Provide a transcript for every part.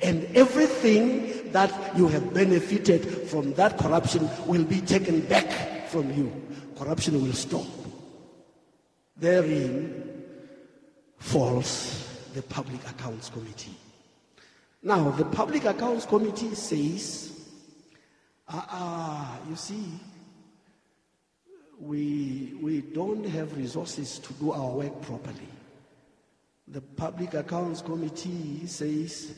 And everything that you have benefited from that corruption will be taken back from you. Corruption will stop. Therein falls the Public Accounts Committee. Now, the Public Accounts Committee says, you see, we don't have resources to do our work properly. The Public Accounts Committee says,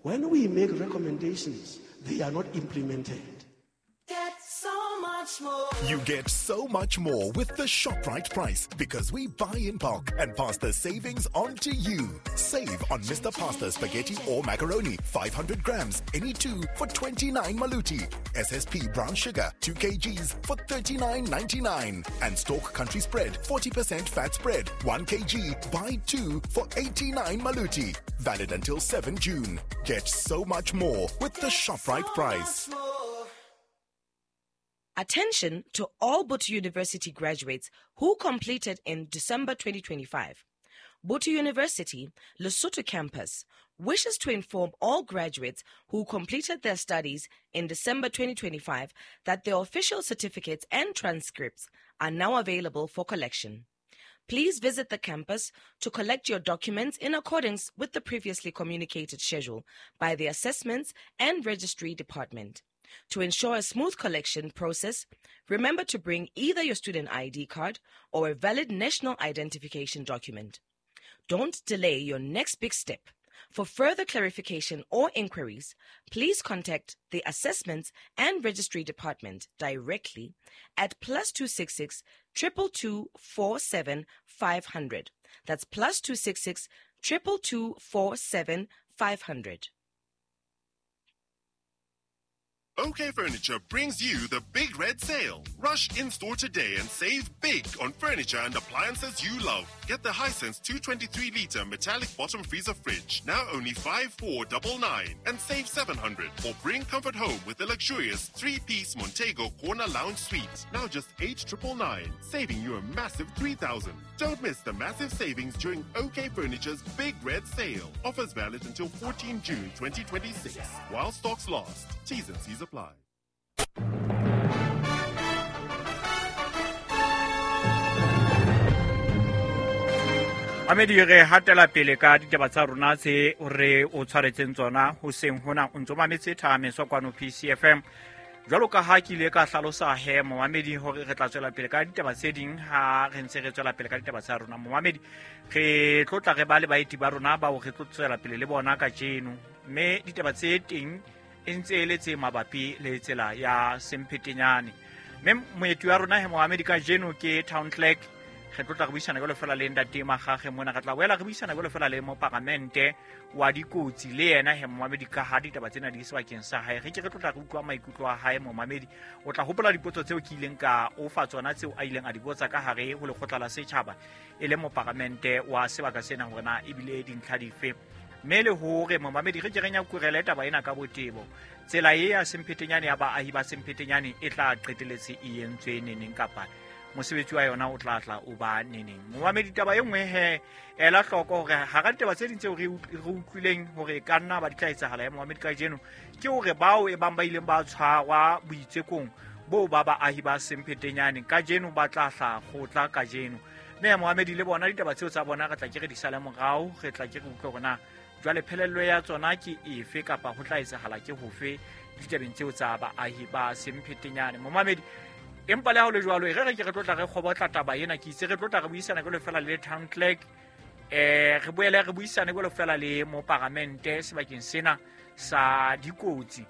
when we make recommendations, they are not implemented. Get so much more. You get so much more with the ShopRite price because we buy in bulk and pass the savings on to you. Save on Mr. Pasta spaghetti or macaroni, 500 grams, any two for 29 maluti. SSP brown sugar, 2 kgs for 39.99. And Stork Country Spread, 40% fat spread, 1 kg, buy 2 for 89 maluti. Valid until 7 June. Get so much more with the ShopRite price. Attention to all Botho University graduates who completed in December 2025. Botho University, Lesotho campus, wishes to inform all graduates who completed their studies in December 2025 that their official certificates and transcripts are now available for collection. Please visit the campus to collect your documents in accordance with the previously communicated schedule by the Assessments and Registry Department. To ensure a smooth collection process, remember to bring either your student ID card or a valid national identification document. Don't delay your next big step. For further clarification or inquiries, please contact the Assessments and Registry Department directly at +266 222 47 500. That's +266 222 47 500. OK Furniture brings you the Big Red Sale. Rush in-store today and save big on furniture and appliances you love. Get the Hisense 223-litre metallic bottom freezer fridge, now only 5499 and save 700. Or bring comfort home with the luxurious 3-piece Montego Corner Lounge Suite, now just 8999, saving you a massive 3,000. Don't miss the massive savings during OK Furniture's Big Red Sale. Offers valid until 14 June 2026. While stocks last. T's and C's apply. Mamedi, re hatela pele ka ditaba tsa rona tse re o tshwaretseng tsona hoseng hona. O ntso mametse Thahameso kwano PCFM. Jwalo ka ha ke ile ka hlalosa he momamedi hore re tla tswela pele ka ditaba tse ding ha re ntse re tswela pele ka ditaba tsa rona. Momamedi, re tlo tla re ba le baeti ba rona bao re tlo tswela pele le bona kajeno. Mme ditaba tse teng e ntse e le tse mabapi le tsela ya Semphetenyane. Mme moeti wa rona he momamedi kajeno ke town clerk. Re tlo tla re buisana jwalo fela le ntate Magage mona, re tla boela re buisana jwalo fela le moparamente wa dikotsi le yena he momamedi ka ha ditaba tsena di sebakeng sa hae. Re ke re tlo tla re utlwa maikutlo a hae momamedi. O tla hopola dipotso tseo ke ileng ka o fa tsona tseo a ileng a di botsa ka hare ho lekgotla la setjhaba e le moparamente wa sebaka sena hore na ebile dintlha dife. Mme le hore momamedi re ke re nyakurele taba ena ka botebo. Tsela e ya Semphetenyane ya baahi ba Semphetenyane e tla qeteletse e entswe neneng kapa mosebetsi wa yona o tla tla o ba neneng. Momamedi, taba e nngwe he ela hloko hore hara ditaba tse ding tseo re utlwileng hore ka nna ba di tla etsahala ya momamedi kajeno ke hore bao e bang ba ileng ba tshwarwa boitsekong bo ba baahi ba Semphetenyane kajeno ba tla hla kgotla kajeno. Mme momamedi le bona ditaba tseo tsa bona re tla ke re di sale morao, re tla ke re utlwe hore na jwale phelello ya tsona ke efe kapa ho tla etsahala ke hofe ditabeng tseo tsa baahi ba Semphetenyane. Momamedi, empa le ha ho le jwalo, e re ke re tlo tla re kgobotla taba ena, ke itse re tlo tla re buisana jwalo fela le town clerk, re boele re buisane jwalo fela le moparamente sebakeng sena sa dikotsi.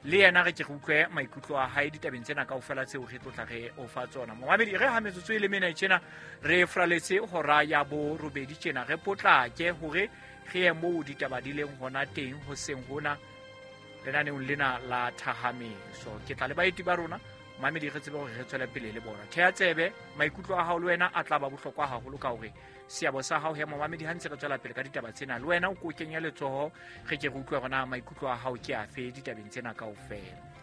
Le yena re ke re utlwe maikutlo a hae ditabeng tsena kaofela tseo re tlo tla re o fa tsona. Momamedi, re ha metsotso e le mene tjena re fraletse hora ya borobedi tjena, re potlake hore re ye moo ditaba di leng hona teng hoseng hona lenaneong lena la Thahameso. Ke tla le baeti ba rona mamedi re tsebe hore re tswele pele le bona. Thea tsebe, maikutlo a hao le wena a tla ba bohlokwa haholo ka hore seabo sa hao he momamedi ha ntse re tswela pele ka ditaba tsena le wena o ko kenye letsoho, re ke re utlwe hore na maikutlo a hao ke afe ditabeng tsena kaofela.